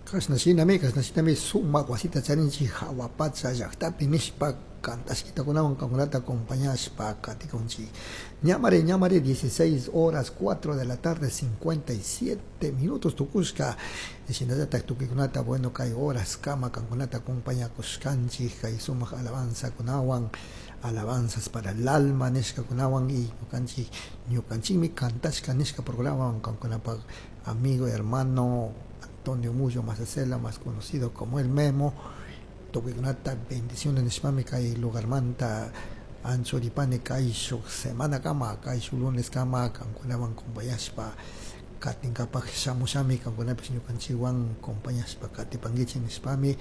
Kashna shinami sumak wasita charinchik hawa pacha llaktapi nishpa kantashkitakunawan kankunata acompañashpa katikunchik. Ñamari, ñamari, 16 horas 4 de la tarde 57 minutos tukushka. Shinallatak tukuykunata, bueno, kay horas kama kankunata acompañakushkanchik kay sumak alabanzakunawan, alabanzas para el alma nishkakunawan y ñukanchikmi kantashka nishka programawan, kankunapak amigo, hermano Antonio Mullo Masacela, más conocido como el Memo. Tukuykunata bendiciones nishpami kay lugarmanta anchuripani. Kayshuk semana kama, kayshuk lunes kama kankunawan acompañashpa katinkapak shamushami. Kankunapish ñukanchikwan acompañashpa katipankichik nishpami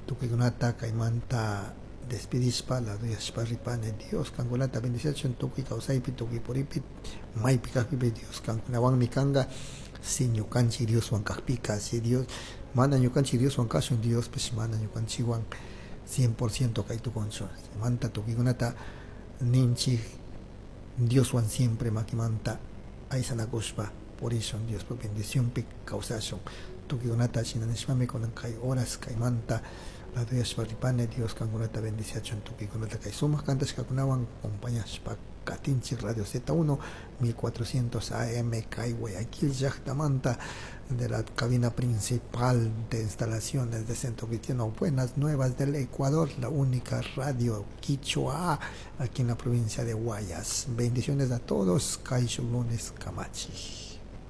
tukuykunata kaymanta despidishpa laduyashpa ripani. Dios kankunata bendiciachun tukuy kawsaypi, tukuy puripi, maypi kakpipi Dios kankunawanmi kanka. Si ñukanchik Dioswan kakpika, si Dios mana ñukanchik Dioswan kashun, Diospish mana ñukanchikwan 100% kay tukunchu. Manta tukuykunata ninchik, Dioswan siempre makimanta aysanakushpa purishun, Diospa bendicionpi kawsashun. Tukuykunata shina nishpami kunan kay horas kaymanta laduyashpa ripani. Dios kankunata bendiciachun tukuykunata. Kay sumak kantashkakunawan acompañashpa katinchik Radio Z1 1400 AM kay Guayaquil llaktamanta, de la cabina principal de instalaciones de Centro Cristiano Buenas Nuevas del Ecuador, la única radio Quichua aquí en la provincia de Guayas. Bendiciones a todos, kayshuk lunes kamachi.